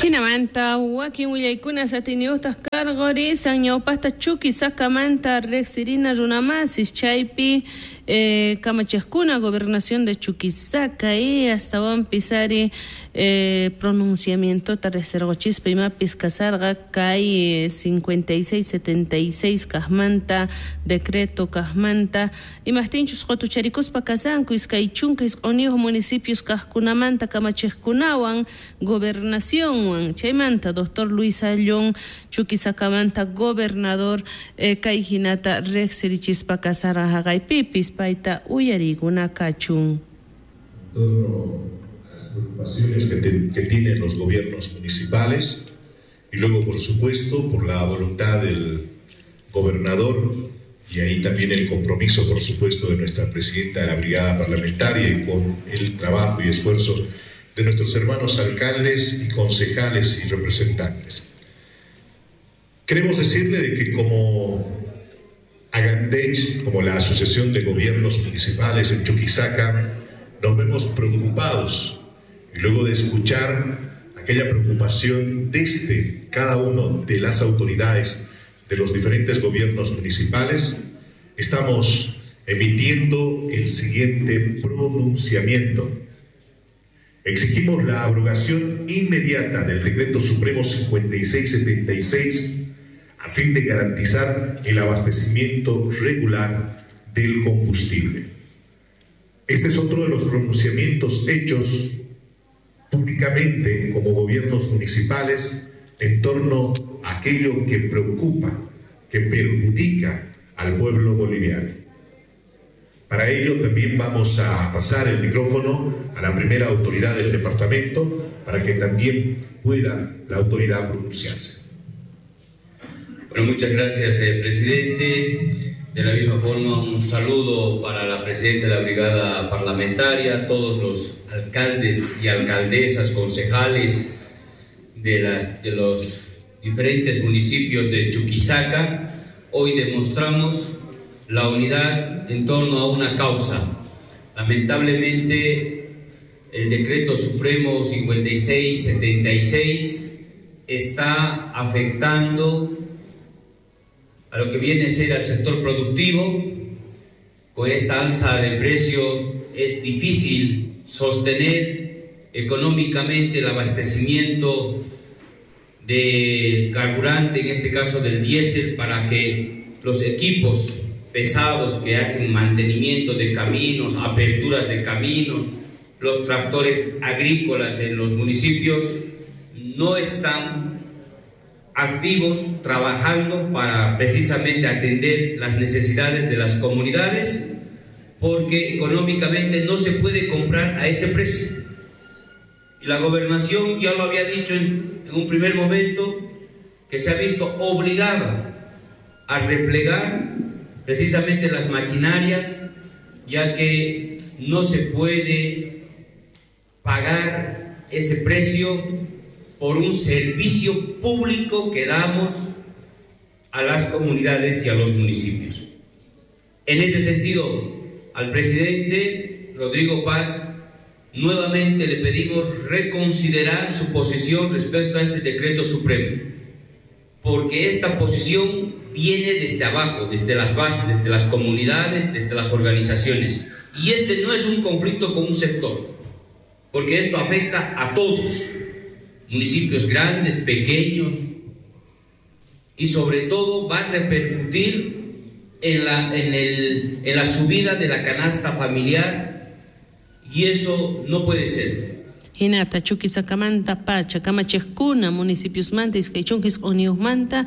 Jinamanta wakin willaykuna atiyniyuqtaq karqurisan ñawpaqta Chuquisakamanta riqsirina runamasis chaypi kamachiqkuna gobernación de Chuquisaca y astawanpis ari pronunciamientota riqsirquchispa imapis kasarqa kay 5676 kaqmanta decreto kaqmanta imaqtinchus qutucharikuspa kasanku 29 municipios kaqkunamanta kamachiqkunawan gobernacionwan chaymanta doctor Luis Ayllón Chuquisakamanta gobernador kay hinata riqsirichispa kasarqa haqaypipis payta uyariykuna kachun. Torno a las preocupaciones que tienen los gobiernos municipales y luego, por supuesto, por la voluntad del gobernador y ahí también el compromiso, por supuesto, de nuestra presidenta de la Brigada Parlamentaria y con el trabajo y esfuerzo de nuestros hermanos alcaldes y concejales y representantes. Queremos decirle de que como Agandech, como la Asociación de Gobiernos Municipales en Chuquisaca, nos vemos preocupados y luego de escuchar aquella preocupación desde cada uno de las autoridades de los diferentes gobiernos municipales, estamos emitiendo el siguiente pronunciamiento. Exigimos la abrogación inmediata del Decreto Supremo 5676 a fin de garantizar el abastecimiento regular del combustible. Este es otro de los pronunciamientos hechos públicamente como gobiernos municipales en torno a aquello que preocupa, que perjudica al pueblo boliviano. Para ello también vamos a pasar el micrófono a la primera autoridad del departamento para que también pueda la autoridad pronunciarse. Bueno, muchas gracias, presidente. De la misma forma, un saludo para la presidenta de la Brigada Parlamentaria, todos los alcaldes y alcaldesas, concejales de los diferentes municipios de Chuquisaca. Hoy demostramos la unidad en torno a una causa. Lamentablemente, el Decreto Supremo 5676 está afectando a lo que viene a ser al sector productivo. Con esta alza de precio es difícil sostener económicamente el abastecimiento del carburante, en este caso del diésel, para que los equipos pesados que hacen mantenimiento de caminos, aperturas de caminos, los tractores agrícolas en los municipios no están activos trabajando para precisamente atender las necesidades de las comunidades, porque económicamente no se puede comprar a ese precio. Y la gobernación ya lo había dicho en un primer momento, que se ha visto obligada a replegar precisamente las maquinarias, ya que no se puede pagar ese precio por un servicio público que damos a las comunidades y a los municipios. En ese sentido, al presidente Rodrigo Paz nuevamente le pedimos reconsiderar su posición respecto a este decreto supremo, porque esta posición viene desde abajo, desde las bases, desde las comunidades, desde las organizaciones. Y este no es un conflicto con un sector, porque esto afecta a todos, municipios grandes, pequeños, y sobre todo va a repercutir en la subida de la canasta familiar, y eso no puede ser. Hinata Chuquisakamanta pacha kamachiqkuna municipiosmanta 29 manta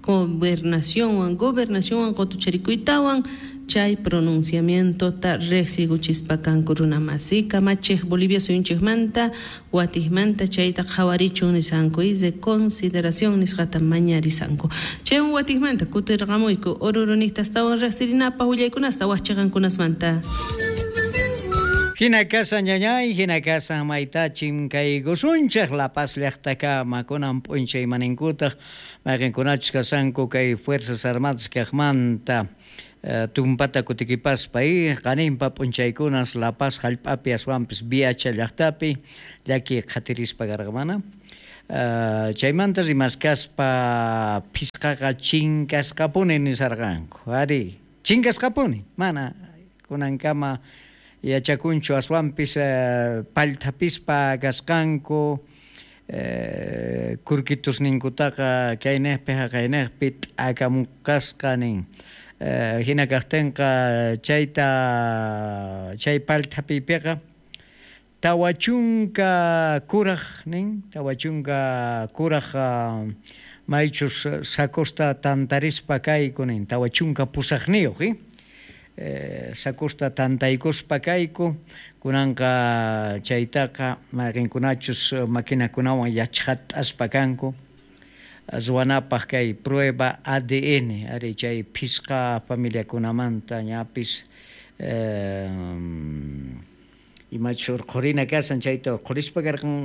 gobernacionwan qutucharikuytawan chay pronunciamientota riqsiykuchispa kanku runamasi kamachiq Bolivia suyunchikmanta watijmanta chayta qhawarichun nisanku y de consideración nisqata mañarisanku chaywan watijmanta kutirqamuyku Oruruniqta astawan riqsirinapaq willaykunasta waqchiqankunasmanta. Hina kasan ñañay, hina kasan maytachin kay gusunchaq La Paz llaqtakama kunan p'unchay maninkutaq mayqinkunachus kasanku kay Fuerzas Armadas kaqmanta tumpata kutikipaspa y qaninpa p'unchaykunas La Paz hallp'api aswanpis Viacha llaqtapi llaki qhatirispa karqamana. Chaymanta rimaskaspa phisqaqa chinkasqapuni nisarqanku. Ari, chinkasqapuni, mana kunankama yachakunchu aswanpis pallthapispa kasqanku, kurkitusninkutaqa kaynejpi haqaynejpi t'akamukasqa nin. Hina kajtenqa chayta chay pallthapiypiqa 40 kuraj nin, 40 kuraj maychus sacosta tantarispa kayku nin, 48 sacosta tantaykuspa kayku, kunanqa chaytaqa mayqinkunachus maquinakunawan yachqat'aspa kanku ruwanapaq kay prueba ADN ari chay phisqa familiakunamanta ñapis imachus urqhurina kasan chayta urqhurispa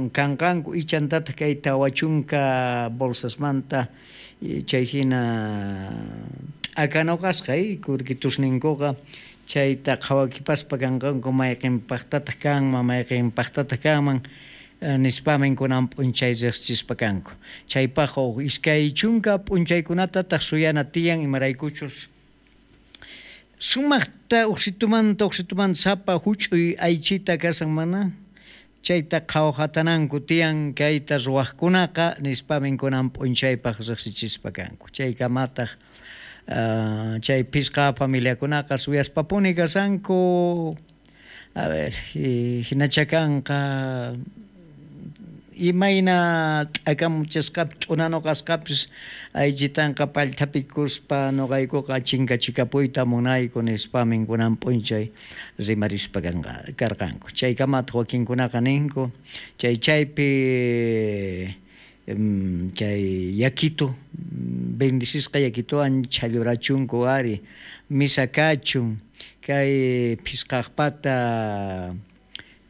kanqanku ichantataq kay 40 bolsasmanta chay hina t'akanuqasqa kurkitusninkuqa chayta qhawakipaspa kanqanku mayqinpaqtataq kanman mayqinpaqtataq kanman nispamin kunan p'unchay riqsichispa kanku. Chaypaq 20 p'unchaykunatataq suyana tiyan imaraykuchus sumaqta uqsitumanta sapa huch'uy aychita kasan mana chayta qhawhatananku tiyan kayta ruwaqkunaqa nispamin kunan p'unchaypaq riqsichispa kanku. Chaykamataq chay phisqa familiakunaqa suyaspapuni kasanku. A ver, hinacha kanqa imayna t'akamuchasqapis t'unanuqasqapis aychitanqa pallthapikuspa nuqaykuqa chinkachikapuyta munayku nispamin kunan p'unchay rimarispa karqanku. Chaykamataq wakinkunaqa ninku chay chaypi chay yakitu bendicisqa yakituwan chhallurachunku ari misa kachun kay phisqaqpata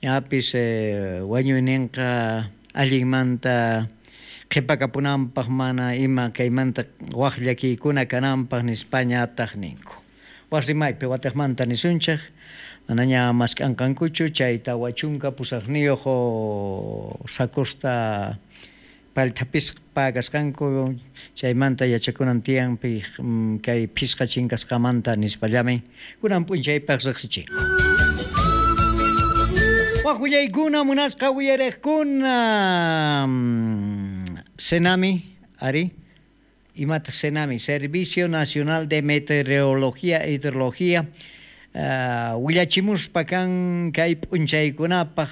ñapis wañuyninqa allinmanta qhipakapunanpaq mana ima kaymanta waq llakiykuna kananpaq nispañataq ninku. Wasimaypi wataqmanta nisunchik manaña mask'anqankuchu chay 48 sacosta pallthapispa kasqanku chaymanta yachakunan tiyan kay phisqa chinkasqamanta nispallamin kunan p'unchaypaq riqsichinku. Waq willaykuna munasqa uyariqkuna Senami, ari, imata Senami, Servicio Nacional de Meteorología e Hidrología, willachimuspa kan kay p'unchaykunapaq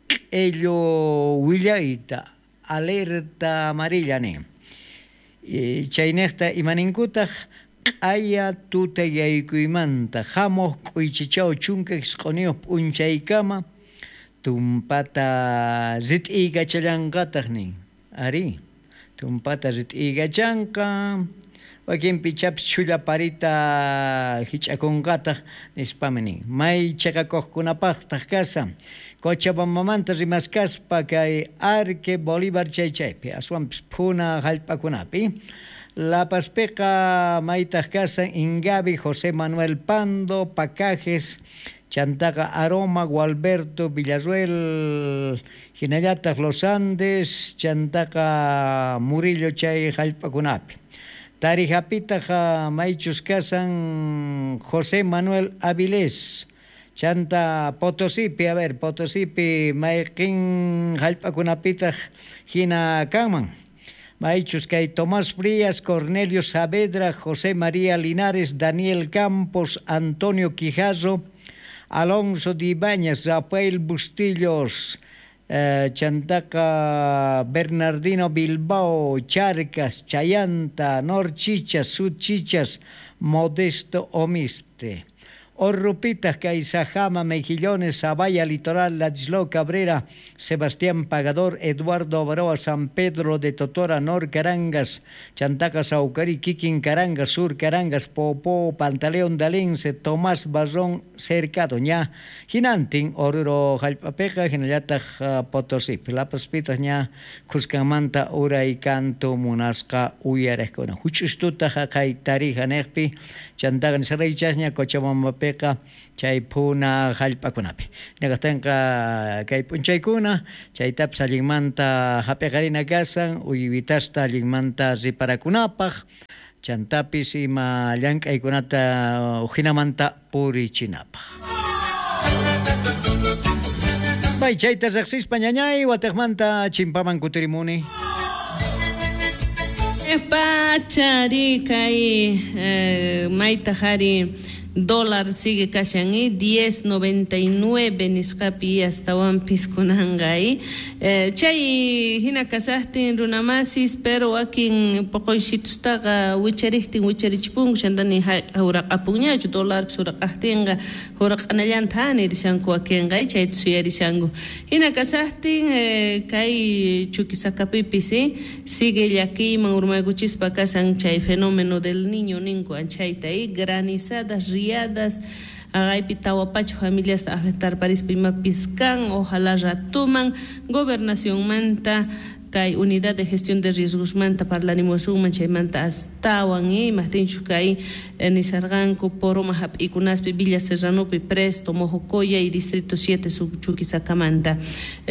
q'illu willayta alerta amarilla nin. Chaynejta imaninkutaq q'aya tutayaykuymanta hamuq k'uychichaw 19 p'unchaykama tumpata rit'iykachallanqataq nin. Ari, tumpata rit'iykachanqa wakinpi chapis chhulla parita hich'akunqataq nispami nin. May chaqakuqkunapaqtaq kasan Cochabambamanta rimaskaspa kay Arque Bolívar chay chaypi aswanpis phuna hallp'akunapi. La Pazpiqa maytaq kasan Ingavi, José Manuel Pando, Pacajes, Chantaqa Aroma, Gualberto, Villarruel, hinallataq Los Andes, Chantaqa Murillo chay hallp'akunapi. Tarijapitaq maychus kasan José Manuel Avilés, Chanta Potosipi, a ver, Potosipi mayqin hallp'akunapitaq hina kanman. Maychus kay Tomás Frías, Cornelio Saavedra, José María Linares, Daniel Campos, Antonio Quijarro, Alonso de Ibáñez, Rafael Bustillos, Chantaca Bernardino Bilbao, Charcas, Chayanta, Norchichas, Sudchichas, Modesto Omiste. Orrupitas, Caizajama, Mejillones, Zavalla, Litoral, Ladislao Cabrera, Sebastián Pagador, Eduardo Avaroa, San Pedro de Totora, Nor Carangas, Chantaca, Saucarí, Quiquín Carangas, Sur Carangas, Popó, Pantaleón Dalense, Tomás Barrón, Cercado, ña, Jinantin, Oruro, Jalpapeja, Jinallataj, Potosí, La Paspitas, ña, Cuscamanta, Ura y Canto, Munasca, Uyarejcona, Huchustuta, Jacay, Tarija, Nejpi, Chantaga, Nisaraychasña, Cochabamba, maypiqa chay phuna hallp'akunapi. Hinaqtinqa kay p'unchaykuna chaytapis allinmanta hap'iqarina kasan uywitasta allinmanta riparakunapaq chantapis ima llank'aykunata ujinamanta purichinapaq. Bay chayta riqsispa ñañay wataqmanta chimpaman kutirimuni. Pachari kay mayta hari dólar sigue kashan 10.99 nisqapi astawanpis kunanqa chay hina kasaqtin runamasis pero wakin poqoysitustaqa wichariqtin wicharichipunku chantani huraqapunñachu dólarpis huraqaqtinqa huraq'anallanta nirishanku wakinqa chayta suyarishanku hina kasaqtin kay Chuquisacapipis sigue llakiyman urmaykuchispa kasan chay fenómeno del niño ninku anchayta granizadas riadas agaypi tawa pacha familias afectar parispa imapis kan ojalá ratuman gobernacionmanta kay unidad de gestión de riesgosmanta parlarimusunman chaymanta astawan imajtinchus kay nisarqanku Poroma hap'ikunaspi Villa Serranopi Presto Mojocoya y Distrito 7 Chuquisacamanta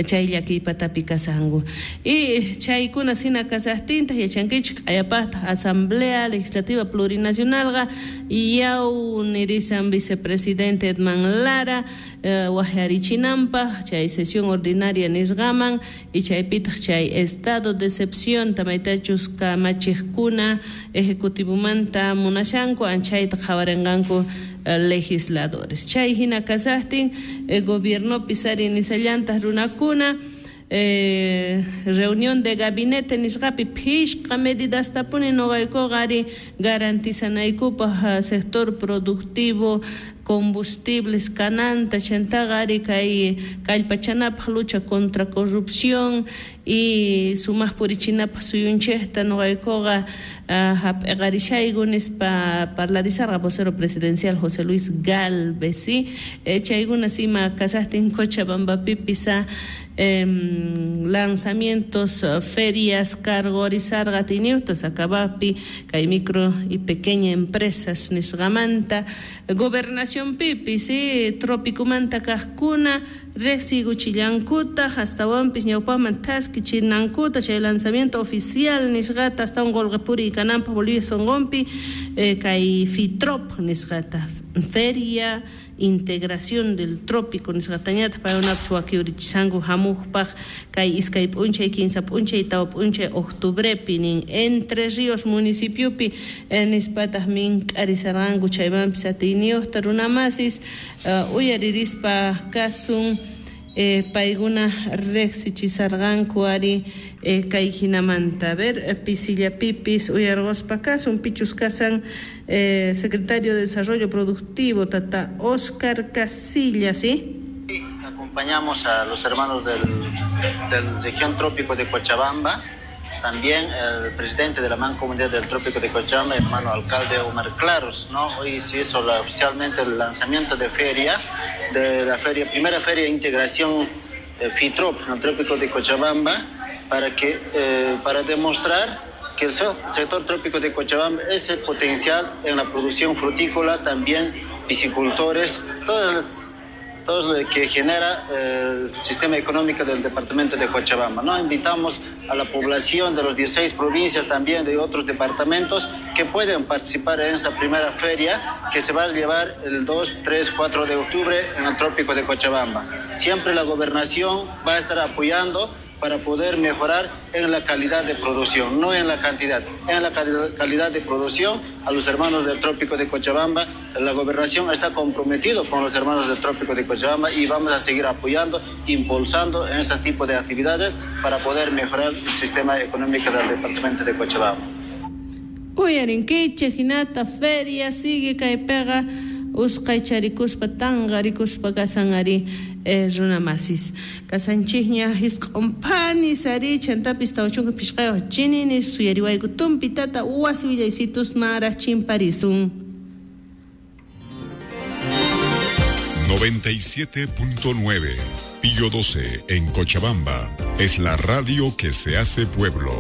chay llakiypatapi kasanku y chaykuna hina kasaqtintaq yachankichik q'ayapaqtaq Asamblea Legislativa Plurinacionalqa yaw nirisan vicepresidente Edman Lara waqyarichinanpaq chay sesión ordinaria nisqaman y chaypitaq chay estado de excepción tamaytachus kamachiqkuna ejecutivomanta munashanku anchayta qhawarinqanku legisladores chay hina kasaqtin gobiernopi ari nisallantaq runakuna reunión de gabinete nisqapi phishqa medidastapuni nuqaykuqa ari garantizanaykupaq sector productivo combustibles kananta chantaqa ari kay kallpachanapaq lucha contra corrupción y sumaq purichinapaq suyunchikta nuqaykuqa hap'iqarishayku nispa parlarisarqa vocero presidencial José Luis Gálvez chaykuna ima kasaqtin Cochabambapipis lanzamientos ferias cargorizarqa tiniutas acabapi kay micro y pequeña empresas nisqamanta gobernación pipis tropicomanta kaqkuna riqsiykuchillankutaq astawanpis ñawpaqman thaskichinankuta chay lanzamiento oficial nisqata astawan qullqi puriy kananpaq Bolivia sunqunpi kay FITROP nisqata Feria Integración del Trópico nisqatañataq paykunapis wakiurichishanku hamuqpaq kay iskay p'unchay 15 p'unchay 4 p'unchay octubrepi nin Entre Ríos municipiopi nispataq mink'arisarqanku chaymanpis atiyniyuqta runamasis uyaririspa kasun paykuna riqsichisarqanku ari kay hinamanta. A ver, pisillapipis uyarquspa kasun pichus kasan secretario de Desarrollo Productivo tata Oscar Casillas, ¿sí? Acompañamos a los hermanos del región trópico de Cochabamba, también el presidente de la Mancomunidad del Trópico de Cochabamba, hermano alcalde Omar Claros, ¿no? Hoy se hizo oficialmente el lanzamiento de feria, de la feria, primera feria de integración FITROP en el Trópico de Cochabamba, para demostrar que el sector trópico de Cochabamba es el potencial en la producción frutícola, también piscicultores, todo lo que genera el sistema económico del departamento de Cochabamba, ¿no? Invitamos a la población de las 16 provincias, también de otros departamentos, que pueden participar en esa primera feria que se va a llevar el 2, 3, 4 de octubre en el Trópico de Cochabamba. Siempre la gobernación va a estar apoyando para poder mejorar en la calidad de producción, no en la cantidad, en la calidad de producción a los hermanos del Trópico de Cochabamba. La gobernación está comprometido con los hermanos del Trópico de Cochabamba y vamos a seguir apoyando, impulsando en este tipo de actividades para poder mejorar el sistema económico del departamento de Cochabamba. Uyarinkichej hinata feria sigue kaypiqa usqaycharikuspa tanqarikuspa kasan ari runamasis kasanchikña hisq'unpani ari chantapis 45 chininis suyariwayku tumpi tata wasi willaysitus maraj chimparisun. 97.9 Pío 12 en Cochabamba es la radio que se hace pueblo.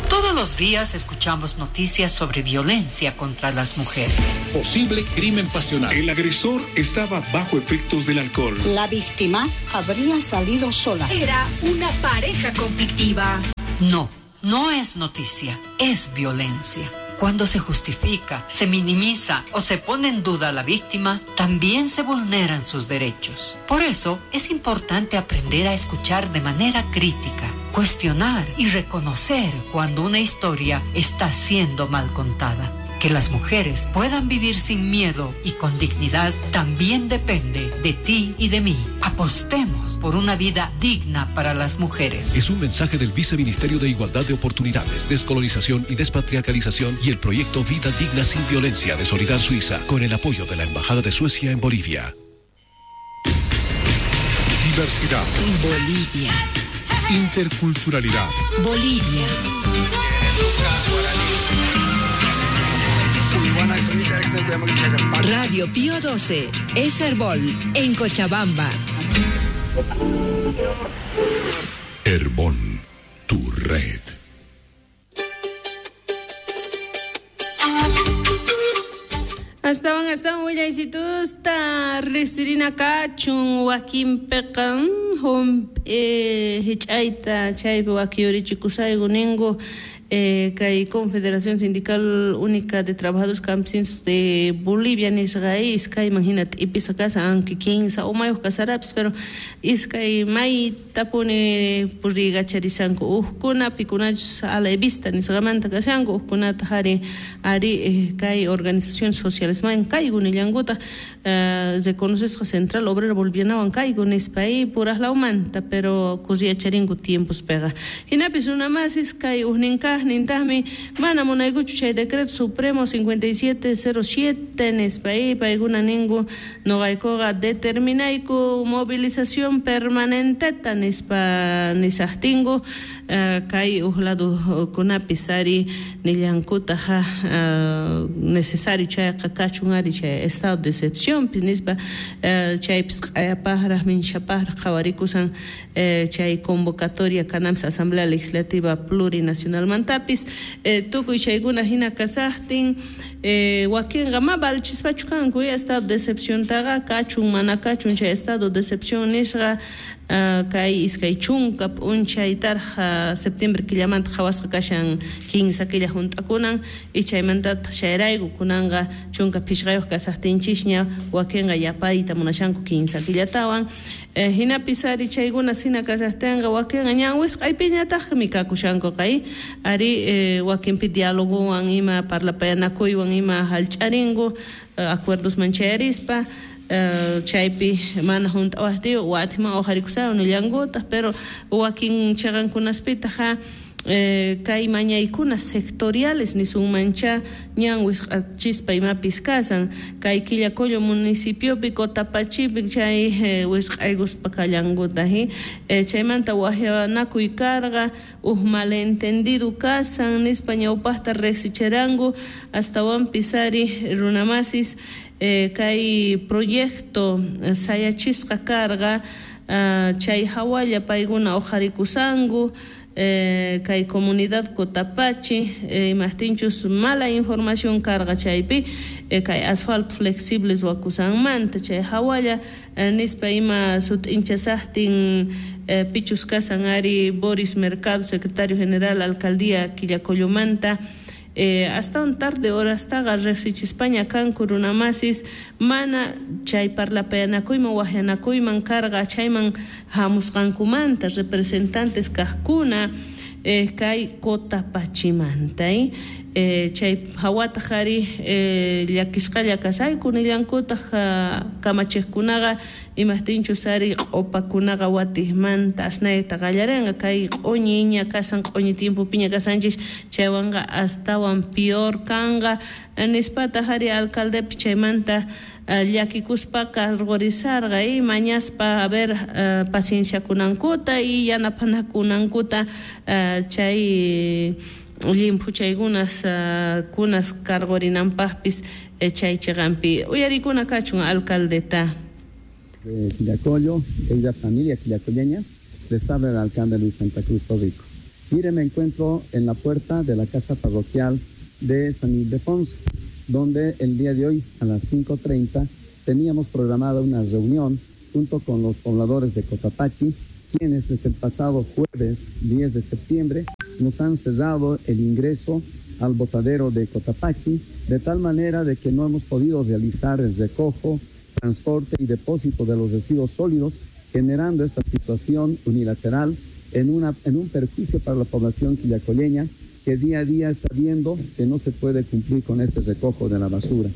Todos los los días escuchamos noticias sobre violencia contra las mujeres. Posible crimen pasional. El agresor estaba bajo efectos del alcohol. La víctima habría salido sola. Era una pareja conflictiva. No, no es noticia, es violencia. Cuando se justifica, se minimiza o se pone en duda a la víctima, también se vulneran sus derechos. Por eso es importante aprender a escuchar de manera crítica, cuestionar y reconocer cuando una historia está siendo mal contada. Que las mujeres puedan vivir sin miedo y con dignidad también depende de ti y de mí. Apostemos por una vida digna para las mujeres. Es un mensaje del Viceministerio de Igualdad de Oportunidades, Descolonización y Despatriarcalización y el proyecto Vida Digna Sin Violencia de Solidar Suiza, con el apoyo de la Embajada de Suecia en Bolivia. Diversidad. Bolivia. Interculturalidad. Bolivia. Radio Pío 12, es Herbol, en Cochabamba. Herbol, tu red. Astawan willaysitusta risirina kachun wakin peqan hich'ayta chaypi wakiyurichikusayku ninku kay Confederación Sindical Única de Trabajadores Campesinos de Bolivia nisqa iskayman hina t'ipisa kasan, aunque kinsa umayuq kasarapis, pero iskay maytapuni puriykacharishanku uqkuna pikunachus a la vista nisqamanta kashanku uqkunata ari ari kay organizaciones sociales man kayku nillankutaq reconocesqa Central Obrera Bolivianawan kayku nispa puraqlawmanta, pero kusiyacharinku tiempospiqa. Hinapis runamasis kay ujninkaq nintaqmi mana munaykuchu chay decreto supremo 5707 nispa paykuna ninku noqaykuqa determinayku movilización permanenteta nispa nisaqtinku kay uj ladukunapis ari nillankutaq necesario chayqa kachun ari chay estado de excepción nispa chaypis q'ayapaqraq minchapaqraq qhawarikusan chay convocatoria kananpis Asamblea Legislativa Plurinacionalmanta tukuy chaykuna hina kasaqtin wakinqa ma valchispachu kanku estado de excepciontaqa kachun mana kachun chay estado de excepción nisqa kay iskay chunka p'unchaytarqa septiembre killamanta qhawasqa kashan kinsa killa hunt'akunan y chaymantataq chayrayku kunanqa chunka phishqayuq kasaqtinchishña wakinqa yapayta munashanku kinsa killatawan hinapis ari chaykuna hina kasaqtinqa wakinqa ñan wisq'aypiñataqmi kakushanku qay ari wakinpi dialogowan ima parlapayanakuywan ima hallch'arinku acuerdosman chayarispa chaypi mana hunt'awaqtiyu watiman uqharikusaywan nillankutaq, pero wakin chaqankunaspitaq kay mañaykuna sectoriales nisunmancha ñan wisq'achispa imapis kasan kay Quillacollo municipiopi Cotapachipi chay wisq'aykuspa kallankutaq chaymanta wajyanakuy karqa uj malentendido kasan nispa ñawpaqta riqsichiranku astawanpis ari runamasis kay proyecto sayachisqa karqa chay hawalla paykuna uqharikusanku kay comunidad Cotapachi imaqtinchus mala información karqa chaypi kay asfalto flexible ruwakusanmanta chay hawalla nispa ima sut'inchasaqtin pichus kasan ari Boris Mercado, secretario general alcaldía Quillacollomanta hasta un tarde horastaqa riqsichispaña kanku runamasis mana chay parlapayanakuyman wajyanakuyman karqa chayman hamusqankumanta representantes kaqkuna kay Cotapachimanta chay hawataq ari llakisqalla kasayku nillankutaq kamachiqkunaqa imaqtinchus ari q'upakunaqa watiqmanta asnayta qallarinqa kay q'uñiña kasan q'uñi tiempopiña kasanchis chaywanqa astawan peor kanqa nispataq ari alcaldepi chaymanta llakikuspa cargorizarqa y mañaspa a ver pacienciakunankuta y yanapanakunankuta chay llimphuchaykunas kunas cargorinanpaqpis chay chiqanpi uyarikuna kachun alcaldeta. De Quillacollo, querida familia quillacolleña, les habla el alcalde Luis Santa Cruz Torrico. Mire, me encuentro en la puerta de la casa parroquial de San Ildefonso, donde el día de hoy a las 5:30 teníamos programada una reunión junto con los pobladores de Cotapachi, quienes desde el pasado jueves 10 de septiembre nos han cerrado el ingreso al botadero de Cotapachi, de tal manera de que no hemos podido realizar el recojo, transporte y depósito de los residuos sólidos, generando esta situación unilateral en un perjuicio para la población quillacolleña, que día a día está viendo que no se puede cumplir con este recojo de la basura.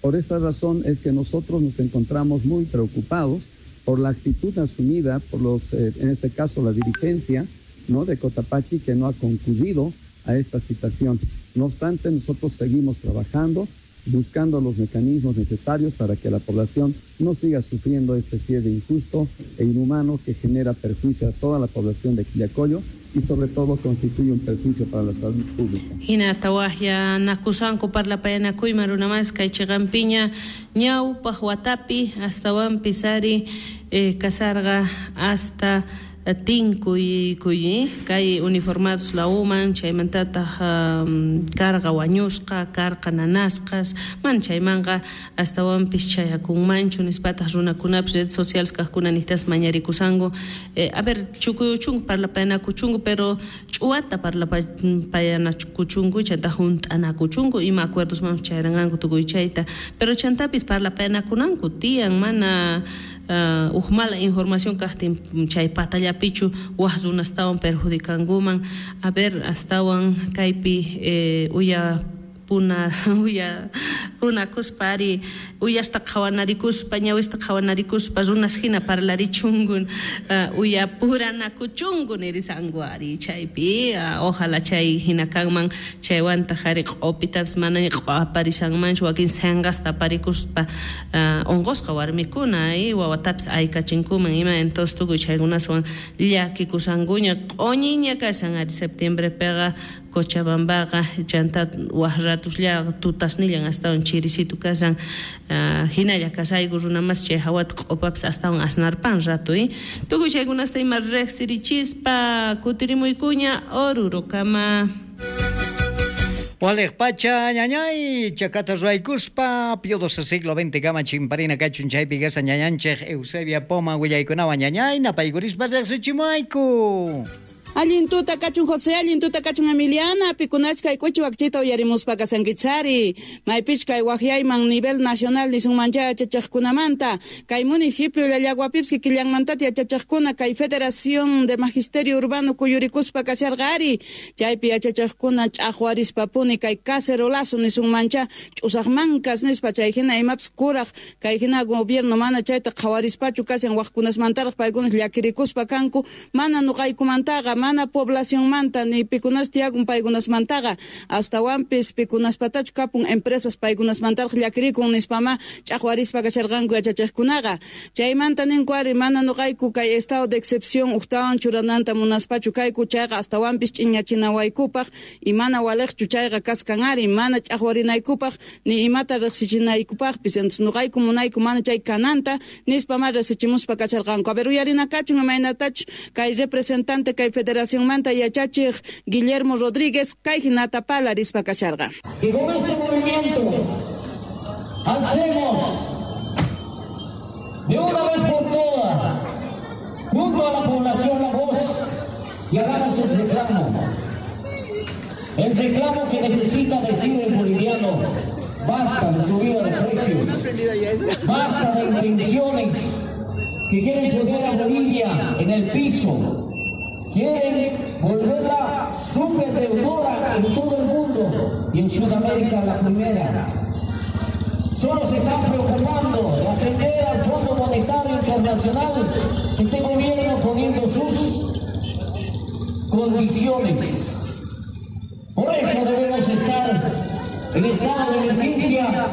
Por esta razón es que nosotros nos encontramos muy preocupados por la actitud asumida por los, en este caso la dirigencia, ¿no?, de Cotapachi, que no ha concurrido a esta citación. No obstante, nosotros seguimos trabajando, buscando los mecanismos necesarios para que la población no siga sufriendo este cierre injusto e inhumano que genera perjuicio a toda la población de Quillacollo y sobre todo constituye un perjuicio para la salud pública. Hinata wahya nakusanku parlapayanakuyman runamas kay chiqanpiña ñawpaq watapi astawanpis ari kasarqa hasta tinkuy kay uniformados la uman chaymantataq karqa wañusqa karqa nanasqas man chaymanqa astawanpis chayakunmanchu nispataq runakunapis redes sociales kaqkuna niqtas mañarikusanku a ver chukuyuchunku parlapayanakuchunku pero ch'uwata parlapayanakuchunku chanta hunt'anakuchunku ima acuerdos man chayranqanku tukuy chayta pero chantapis parlapayanakunanku tiyan mana uj mala información kaqtin chay patallapichu waj runastawan perjudikankuman. A ver astawan kaypi uya puna uya punakuspa ari uyasta qhawanarikuspa ñawista qhawanarikuspa runas hina parlarichunku uya puranakuchunku nirisanku ari chaypi ojalá chay hina kanman chaywantaq ari q'upitapis manaña q'aparisanmanchu wakin sinqasta aparikuspa unqusqa warmikuna wawatapis aykachinkuman ima entonces tukuy chaykunaswan llakikusankuña q'uñiña kashan ari septiembrepiqa Cochabambaqa chanta waj ratusllaqa tutasnillan astawan chirisitu kashan hinalla kasayku runamas chay hawata q'upapis astawan asnarpan ratu tukuy chaykunasta ima riqsirichispa kutirimuykuña Orurokama. Waliq pacha ñañay chakata ruwaykuspa Pío XII siglo XX kama chimparina kachun chaypi kasa ñañanchej Eusebia Poma willaykunawan ñañay napaykurispa riqsichimayku. Allin tuta kachun José, allin tuta kachun Emiliana, pikunachkay k'uchi wakchita uyarimuspa kasankichari, maypichkay waqyayman nivel nacional nisunmancha yachachaqkunamanta, kay municipio Llallaguapipis kikillanmantata yachachaqkuna kay Federación de Magisterio Urbano kuyurikuspa kasharqa ari, chaypi yachachaqkuna ch'aqwarispapuni kay cacerolazo nisunmancha ch'usaqmankas nispa chay hina imapis kuraq kay hina gobierno mana chayta qhawarispachu kashan waqkunasmantaraq paykunas llakirikuspa kanku mana nuqaykumantaqa mana poblacionmanta ni pikunas tiyakun paykunasmantaqa astawanpis pikunaspatachu kapun empresas paykunasmantaraq llakirikun nispama ch'aqwarispa kasharqanku yachachiqkunaqa chaymanta ninku ari mana nuqayku kay estado de excepción uqtawan churananta munaspachu kayku chayqa astawanpis ch'iñachinawaykupaq y mana waliqchu chayqa kaskan ari mana ch'aqwarinaykupaq ni imata riqsichinaykupaqpis entonces nuqayku munayku mana chay kananta nispama riqsichimuspa kasharqanku. A ver uyarinakachun imaynatachu kay representante kay Federación Manta Yachachiq Guillermo Rodríguez kay hinata parlarispa kasharqa. Y con este movimiento alcemos de una vez por todas junto a la población la voz y hagamos el reclamo que necesita decir el boliviano: basta de subida de precios, basta de intenciones que quieren poner a Bolivia en el piso, quieren volverla súper deudora en todo el mundo y en Sudamérica la primera. Solo se están preocupando de atender al Fondo Monetario Internacional, este gobierno poniendo sus condiciones. Por eso debemos estar en estado de emergencia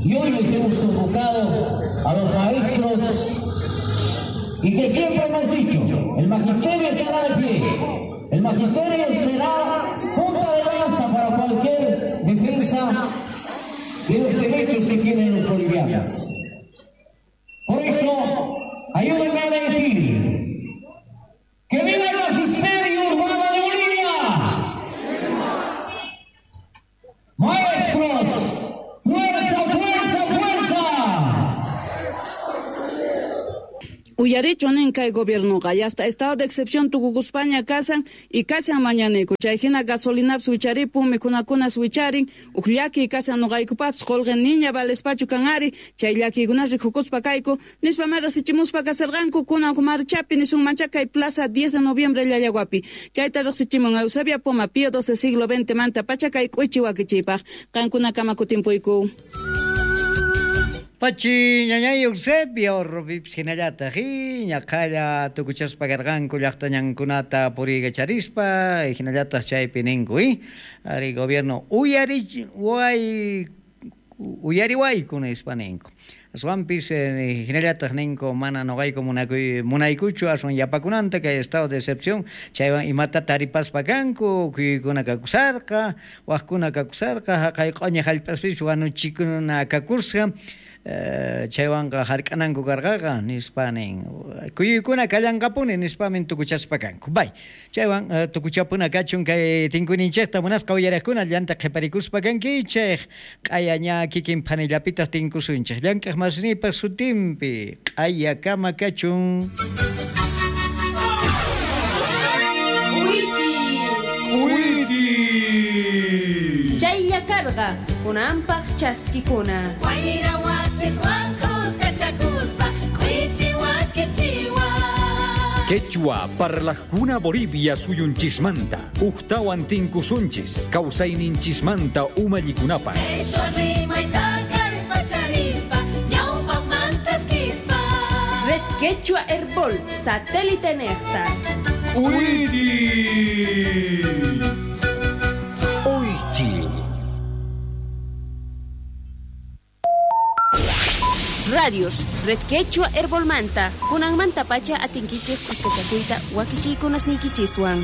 y hoy les hemos convocado a los maestros y que siempre hemos dicho, el magisterio estará de pie, el magisterio será punta de lanza para cualquier defensa de los derechos que tienen los bolivianos. Por eso, ayúdenme a decir que viva el magisterio urbano de Bolivia. Allichu nin kay gobiernoqa y hasta estado de excepción tukukuspaña kasan y kashan mañanayku chay hina gasolinapis wicharipun mikhunakunas wicharin uj llakiy kashan noqaykupapis qolqe niña valespachu kan ari chay llakiykunas rikukuspa kayku nispa ma riqsichimuspa kasarqanku kunan uj marchapi nisunmancha kay plaza 10 de noviembre Llallaguapi chayta riqsichimun Eusebia Poma Pío XII siglo XX manta pacha kay k'uichi wakichiypaq qankunakama kutimpuyku. Pachi ñañay Eusebio Robipis hinallataq ñaqalla tukuchaspa karqanku llaqtañankunata puriykacharispa hinallataq chaypi ninku ari gobierno uyariwayku nispa ninku. Aswanpis hinallataq ninku mana noqayku munaykuchu aswan yapakunanta kay estado de excepción chaywan imata taripaspa kanku kuykuna kakusarqa waqkuna kakusarqa haqay q'uña hallp'aspis wanuchikuna kakusqa chaywanqa hark'ananku karqaqa nispa nin kuyuykuna kallanqapuni nispamin tukuchaspa kanku. Bay chaywan tukuchapuna kachun kay tinkuyninchikta munasqa uyariqkuna llanta qhiparikuspa kankichik q'aya ña kikin phanillapitaq tinkusunchik llank'aq masnipaq sutinpi q'ayakama kachun. K'uychi K'uychi chaylla karqa kunanpaq chaskikuna wayra wasiswan kuskachakuspa k'uychi wakichiwa. Quechua parlajkuna Bolivia suyunchismanta ujtawan tinkusunchis kawsayninchismanta umallikunapaq Qheshwa rimayta kallpacharispa ñawpaqmantaskispa. Red Quechua Herbol satélite nejta. K'uychi. Uychi. Radios Red Quechua Herbolmanta kunanmanta pacha atinkichik kuskachakuyta wakichiykunasniykichiswan.